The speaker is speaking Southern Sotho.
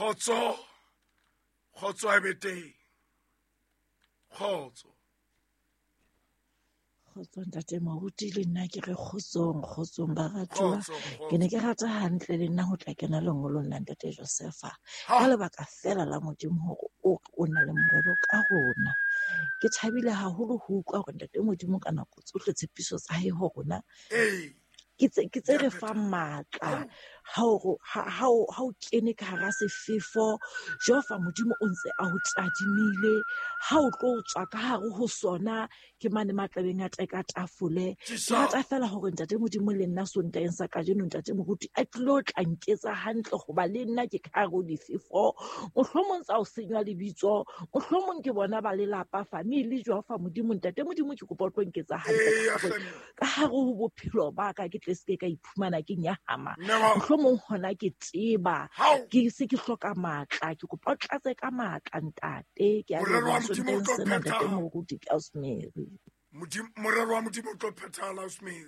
Kgotso, kgotso a be teng. Kgotso. Kgotso ntate moruti le nna ke re kgotsong kgotsong baratuwa ke ne ke rata hantle le nna ho tla kena lengolong la ntate Josefa ka lebaka fela la Modimo hore o o na le morero ka rona. Ke thabile haholo ho utlwa hore ntate Modimo ka nako tsohle tshepiso tsa hae ho rona ke tse ke tse re fang matla ha o ha o ha o kene ka hara sefefo Jehova Modimo o ntse a ho tadimile ha o tlo tswa ka hare ho sona ke mane matlabeng a teka tafole. Ke rata fela hore ntate Modimo le nna Sontaheng sa kajeno ntate Moruti a tlilo tla nketsa hantle hoba le nna ke ka hare ho difefo. Mohlomong tsa ho senywa lebitso, mohlomong ke bona ba lelapa family Jehova Modimo ntate Modimo ke kopa o tlo nketsa hantle ka hare ho bophelo ba ka ke tle se ke ka iphumana ke nyahama. Mohlomong hona ke tseba ke se ke hloka matla ke kopa o tlatse ka matla ntate ke a leboha Sontaheng sena ntate Moruti ke Ausmary. Morero wa Modimo o tlo phethahala Ausmary.